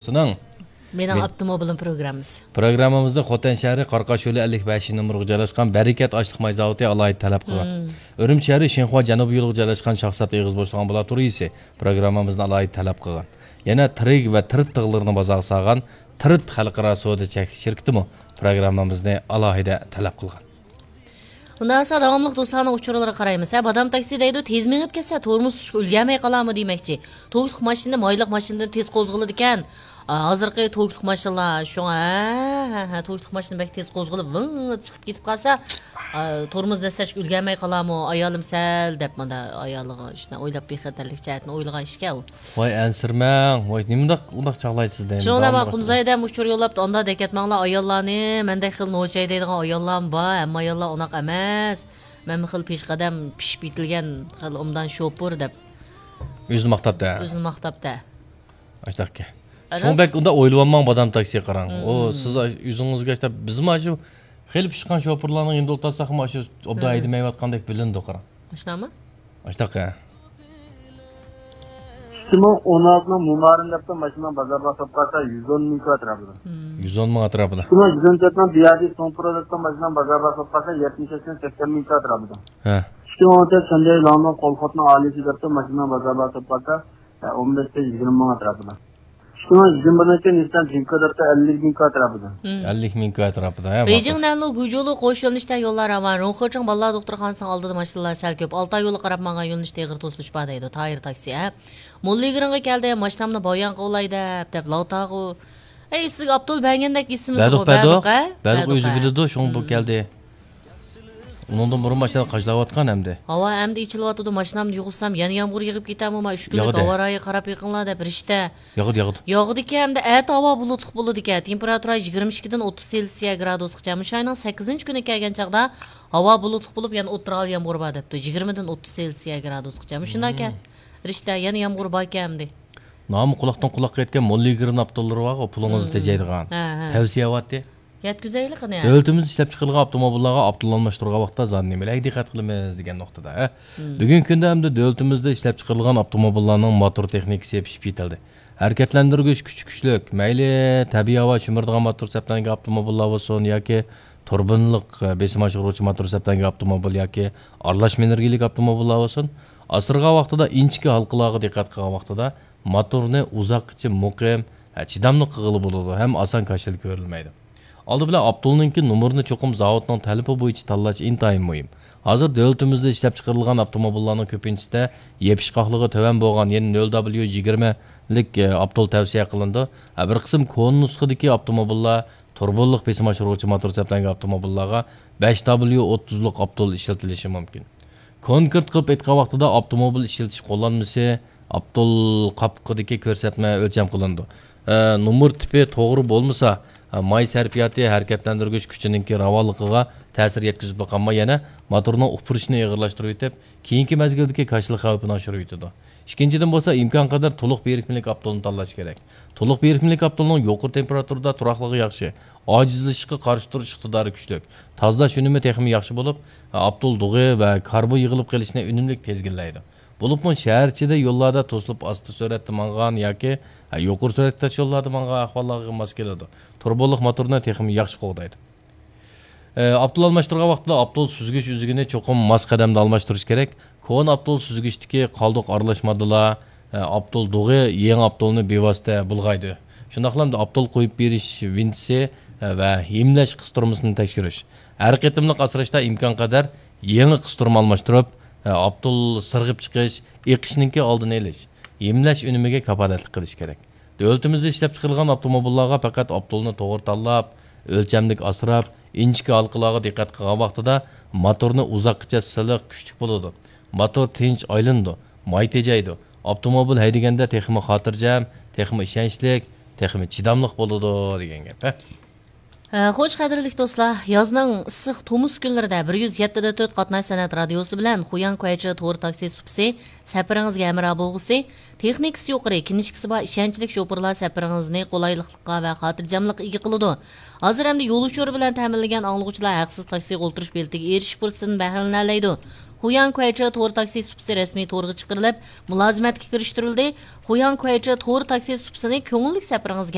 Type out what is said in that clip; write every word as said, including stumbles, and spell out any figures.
سىنىڭ مېنىڭ مەن ئاپتوموبىلىم پروگراممىسى. پروگراممىمىزنى خوتەن شەھىرى قارقاش يولى ئەللىك بەشىنچى نومۇرغا جايلاشقان بەرىكەت ئاشلىق ماي زاۋۇتى ئالاھىدە تەلەپ قىلغان. مم. ئۈرۈمچى شەھىرى شىنخۇا جەنۇبىي يولىغا جايلاشقان شاخسات ئېغىز بوشلۇق ئامبۇلاتورىيىسى پروگراممىمىزنى ئالاھىدە تەلەپ قىلغان. يەنە تىرىگ ۋە تىرىت تىغلىرىنى بازارغا سالغان تىرىت خەلقئارا سودا چەكلىك شىركىتىمۇ پروگراممىمىزنى ئالاھىدە تەلەپ قىلغان. ئۇنداق بولسا داۋاملىق دوستلارنىڭ ئۇچۇرلىرىغا قارايمىز. ھە، بادام تاكسى دەيدۇ، تېز مېڭىپ كەتسە، تورمۇز تۇتۇشقا ئۈلگەرمەي قالامۇ دېمەكچى. توكلۇق ماشىنا مايلىق ماشىنىدىن تېز قوزغىلىدىكەن. ئا، ھازىرقى توكلۇق ماشىنىلار شۇڭا، ھە، ھە، ھە، توكلۇق ماشىنا بەك تېز قوزغىلىپ، ۋىڭ چىقىپ كېتىپ قالسا، ئا، تورمۇز دەسسەشكە ئۈلگەرمەي قالامۇ، ئايالىم سەل دەپ مانا ئايالىغا شۇنداق ئويلاپ بىخەتەرلىك جەھەتتىن ئويلىغان ئىشكەن ئۇ. ۋاي ئەنسىرىمەڭ، ۋاي نېمىنداق ئۇنداق چاغلايسىز دەيمەن. شۇنىڭ بىلەن داۋاملىق. قۇمزايدەم ئۇچۇر يوللاپتۇ، ئاندا دەكەتمەڭلار ئاياللارنى، مەندەك خېلى نوچاي دەيدىغان ئاياللارمۇ بار، ھەممە ئاياللار ئۇنداق ئەمەس. مەنمۇ خېلى پېشقەدەم، پىشىپ يېتىلگەن، خېلى ئوبدان شوپۇر دەپ. ئۆزىنى ماختاپتە. ئۆزىنى ماختاپتە. ئاشتاقكە. شۇڭا بەك ئۇنداق ئويلىۋالماڭ، بادام تاكسىگە قاراڭ. ئۇ سىز ئۆزىڭىزگە ئىشلەپ، بىزمۇ ئاشۇ خېلى پىشقان شوپۇرلارنىڭ يېنىدا ئولتۇرساقمۇ ئاشۇ ئوبدان ھەيدىمەيۋاتقاندەك بىلىنىدۇ، قاراڭ. ئاشۇنداقمۇ؟ ئاشتاقكە. ئىككى مىڭ ئون ئالتىنىڭ مۇمارىن دەپتۇ ماشىنىنىڭ بازار باھاسى بولسا يۈز ئون مىڭ ئەتراپىدا. يۈز ئون مىڭ ئەتراپىدا. ئىككى مىڭ يۈز ئون تۆتنىڭ بىيادى سوڭپرو دەپتۇ ماشىنىنىڭ بازار باھاسى بولسا يەتمىش ئىككى مىڭ سەكسەن مىڭ ئەتراپىدا. ھە. ئىككى مىڭ ئون تۆت شەندەي لاننىڭ قولخوتنىڭ ئالىيسى دەپتۇ ماشىنىنىڭ بازار باھاسى بولسا ئون بەش يىگىرمە مىڭ ئەتراپىدا. ئىككى مىڭ يىگىرمە بىرىنچى نىسسان جىنكا دەپتۇ ئەللىك مىڭ ئەتراپىدا. ئەللىك مىڭ ئەتراپىدا، ھە، بېيجىڭ ماقۇل. نەنلۇ گۇجۇلۇ قوش يۆنىلىشتە يوللار راۋان. روڭخېچىڭ بالىلار دوختۇرخانىسىنىڭ ئالدىدا ماشىنىلار سەل كۆپ. ئالتاي يولى قاراپ ماڭغان يۆنىلىشتە ئېغىر توسۇلۇش بار دەيدۇ. تايىر تاكسى، ھە. موللىگىرىڭغا كەلدى، ماشىنامنى بايان قىلىۋالاي دەپ، دەپ لاۋتاغۇ. ئەي، سىزگە ئاپتول بەرگەندەك ئېسىمىزدىغۇ، بەردۇق، بەردۇق، ھە؟ بەردۇق، بەردۇق، ئۆزى ھە. بىلىدۇ، شۇڭا بۇ كەلدى. ئۇنىڭدىن بۇرۇن ماشىنا قاچىلاۋاتقان ئەمدى. ھاۋا ئەمدى ئېچىلىۋاتىدۇ، ماشىنامنى يۇغۇزسام يەنە يامغۇر يېغىپ كېتەرمۇ، ما ئۈچ كۈنلۈك ياغىدۇ. ھاۋا رايىغا قاراپ بېقىڭلار دەپ رىشتە. ياغىدۇ، ياغىدۇ. ياغىدىكەن، ئەمدى ئەتە ھاۋا بۇلۇتلۇق بولىدىكەن. تېمپېراتۇرا يىگىرمە ئىككىدىن ئوتتۇز سېلسىيە گرادۇسقىچە. مۇشۇ ئاينىڭ سەككىزىنچى كۈنى كەلگەن چاغدا ھاۋا بۇلۇتلۇق بولۇپ، يەنە ئوتتۇرا ھال يامغۇر بار دەپتۇ. يىگىرمىدىن ئوتتۇز سېلسىيە گرادۇسقىچە. مۇشۇنداكەن. رىشتە، يەنە يامغۇر باركەن ئەمدى. نامى قۇلاقتىن قۇلاققا يەتكەن موللىگرىن ئاپتوللىرى بارغۇ، پۇلىڭىزنى تېجەيدىغان. ھە، ھە. تەۋسىيە ئەۋاتتى. يەتكۈزەيلى قېنى. دۆلىتىمىزدە ئىشلەپچىقىرىلغان ئاپتوموبىللارغا ئاپتول ئالماشتۇرغان ۋاقىتتا زادى نېمىلەرگە دىققەت قىلىمىز دېگەن نۇقتىدا، ھە؟ بۈگۈنكى كۈندە ئەمدى دۆلىتىمىزدە ئىشلەپچىقىرىلغان ئاپتوموبىللارنىڭ موتور تېخنىكىسى پىشىپ يېتىلدى. ھەرىكەتلەندۈرگۈچ كۈچى كۈچلۈك، مەيلى تەبىئىي ھاۋا شۈمۈرىدىغان موتور سەپلەنگەن ئاپتوموبىللار بولسۇن ياكى تۇربىنىلىق، بېسىم ئاشۇرغۇچى موتور سەپلەنگەن ئاپتوموبىل ياكى ئارىلاشما ئېنېرگىيەلىك ئاپتوموبىللار بولسۇن، ئاسرىغان ۋاقتىدا ئىنچىكە ھالقىلارغا دىققەت قىلغان ۋاقتىدا موتورنى ئۇزاققىچە مۇقىم، ھە، چىداملىق قىلغىلى بولىدۇ ھەم ئاسان كاشىلا كۆرۈلمەيدۇ. ئالدى بىلەن ئاپتولنىڭكى نومۇرىنى چوقۇم زاۋۇتنىڭ تەلىپى بويىچە تاللاش ئىنتايىن مۇھىم. ھازىر دۆلىتىمىزدە ئىشلەپچىقىرىلغان ئاپتوموبىللارنىڭ كۆپىنچىسىدە يېپىشقاقلىقى تۆۋەن بولغان، يەنى نۆل دابليۇ يىگىرمىلىك، ئە، ئاپتول تەۋسىيە قىلىنىدۇ. ھە، بىر قىسىم كونا نۇسخىدىكى ئاپتوموبىللار تۇربىنىلىق بېسىم ئاشۇرغۇچى موتور سەپلەنگەن ئاپتوموبىللارغا بەش دابليۇ ئوتتۇزلۇق ئاپتول ئىشلىتىلىشى مۇمكىن. كونكرېت قىلىپ ئېيتقان ۋاقتىدا، ئاپتوموبىل ئىشلىتىش قوللانمىسى ئاپتول قاپىقىدىكى كۆرسەتمە ئۆلچەم قىلىنىدۇ. ئە، نومۇر تىپى توغرا بولمىسا، ئە، ماي سەرپىياتى ھەرىكەتلەندۈرگۈچ كۈچىنىڭكى راۋانلىقىغا تەسىر يەتكۈزۈپلا قالماي، يەنە موتورنىڭ ئۇپرىشىنى ئېغىرلاشتۇرۇۋېتىپ، كېيىنكى مەزگىلدىكى كاشىلا خەۋپىنى ئاشۇرۇۋېتىدۇ. ئىككىنچىدىن بولسا، ئىمكانقەدەر تولۇق بىرىكمىلىك ئاپتولنى تاللاش كېرەك. تولۇق بىرىكمىلىك ئاپتولنىڭ يۇقىرى تېمپېراتۇرىدا تۇراقلىقى ياخشى، ئاجىزلىشىشقا قارشى تۇرۇش ئىقتىدارى كۈچلۈك، تازىلاش ئۈنۈمى تېخىمۇ ياخشى بولۇپ، ئاپتول دۇغى ۋە كاربون يىغىلىپ قېلىشنى ئۈنۈملۈك تىزگىنلەيدۇ. بولۇپمۇ شەھەر ئىچىدە يوللاردا توسۇلۇپ ئاستا سۈرئەتتە مانغان ياكى يۇقىرى سۈرئەتتە تاش يوللاردا مانغان ئەھۋاللارغا ماس كېلىدۇ. تۇرۇبىلىق موتورنى تېخىمۇ ياخشى قوغدايدۇ. ئاپتول ئالماشتۇرغان ۋاقتىدا ئاپتول سۈزگۈچ ئۈزۈكىنى چوقۇم ماس قەدەمدە ئالماشتۇرۇش كېرەك. كونا ئاپتول سۈزگۈچتىكى قالدۇق ئارىلاش ماددىلار، ئاپتول دۇغى يېڭى ئاپتولنى بىۋاسىتە بۇلغايدۇ. شۇنداقلا ئاپتول قويۇپ بېرىش ۋىنتىسى ۋە ھىملەش قىستۇرمىسىنى تەكشۈرۈش. ھەر قېتىملىق ئاسراشتا ئىمكانقەدەر يېڭى قىستۇرما ئالماشتۇرۇپ، ئاپتول سىرغىپ چىقىش، ئېقىشنىڭكى ئالدىنى ئېلىش، ھىملەش ئۈنۈمىگە كاپالەتلىك قىلىش كېرەك. دۆلىتىمىزدە ئىشلەپچىقىرىلغان ئاپتوموبىللارغا پەقەت ئاپتولنى توغرا تاللاپ، ئۆلچەملىك ئاسراپ، ئىنچىكە ھالقىلارغا دىققەت قىلغان ۋاقتىدا موتورنى ئۇزاققىچە سىلىق، كۈچلۈك بولىدۇ. موتور تىنچ ئايلىنىدۇ، ماي تېجەيدۇ. ئاپتوموبىل ھەيدىگەندە تېخىمۇ خاتىرجەم، تېخىمۇ ئىشەنچلىك، تېخىمۇ چىداملىق بولىدۇ دېگەن گەپ، ھە. ھە، خوش، قەدىرلىك دوستلار، يازنىڭ ئىسسىق تومۇز كۈنلىرىدە بىر يۈز يەتتە دە تۆت قاتناش سەنئەت رادىيوسى بىلەن خۇياڭ كۇەيچې تور تاكسى سۇپىسى سەپىرىڭىزگە ھەمراھ بولغۇسى، تېخنىكىسى يۇقىرى، كىنىشكىسى بار ئىشەنچلىك شوپۇرلار سەپىرىڭىزنى قولايلىقلىققا ۋە خاتىرجەملىققا ئىگە قىلىدۇ. ھازىر ئەمدى يول ئۇچۇرى بىلەن تەمىنلىگەن ئاڭلىغۇچىلار ھەقسىز تاكسىغا ئولتۇرۇش بېلىتىگە ئېرىشىش پۇرسىتىدىن بەھرىلىنەلەيدۇ. خۇياڭ كۇەيچې تور تاكسى سۇپىسى رەسمىي تورغا چىقىرىلىپ، مۇلازىمەتكە كىرىشتۈرۈلدى. خۇياڭ كۇەيچې تور تاكسى سۇپىسىنى كۆڭۈللۈك سەپىرىڭىزگە